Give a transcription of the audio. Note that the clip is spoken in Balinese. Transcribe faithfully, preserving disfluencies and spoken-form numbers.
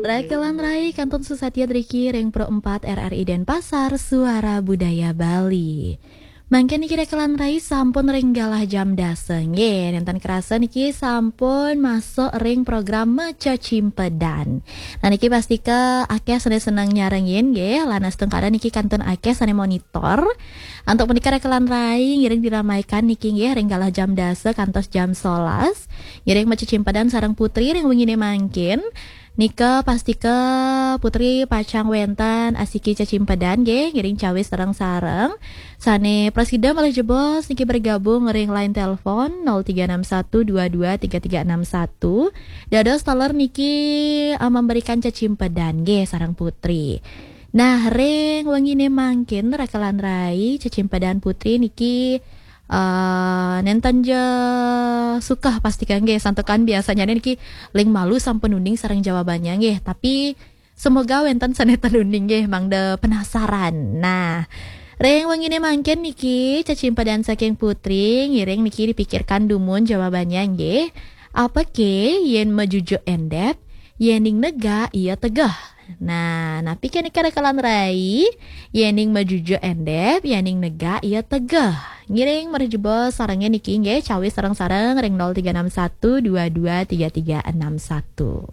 Rakelan rai kantun susatia driki ring Pro empat R R I Denpasar, Suara Budaya Bali. Mangkin niki Rakelan rai sampun ring galah jam dasa nggih. Nenten kerasa niki sampun masuk ring program Maca Cimpedan. Nah, niki pastika akeh sane seneng nyarengin nggih, lan astungkara niki kantun akeh sane monitor. Antuk punika Rakelan rai ngiring diramaikan niki nggih ring galah jam dasa kantos jam solas. Ngiring Maca Cimpedan sareng Putri ring wengine mangkin. Nika pastika Putri pacang wenten asiki cecimpedan nggih, ngiring cawis sareng-sareng. Sane prasida malih jebos niki bergabung ring line telepon nol tiga enam satu dua dua tiga tiga enam satu. Dados taler niki, eh, memberikan cecimpedan nggih sareng Putri. Nah, ring wengine mangkin Rakelan rai cecimpedan Putri niki eh, nenten ja suka pastika nggih, santukan biasanya niki ling malu sampun uning sareng jawabannya nggih, tapi semoga wenten sane ten uning nggih, mangda penasaran. Nah, ring wengine mangkin niki cecimpedan saking Putri ngiring niki dipikirkan dumun jawabannya nggih. Apa ke yen majujuk endep, yening negak iya tegeh? Nah, napi ke nika Rakelan rai, yening majujuk endep, yening negak iya tegeh? Ngiring malih jebos sarengin niki nggih, cawis sareng-sareng ring nol tiga enam satu dua dua tiga tiga enam satu.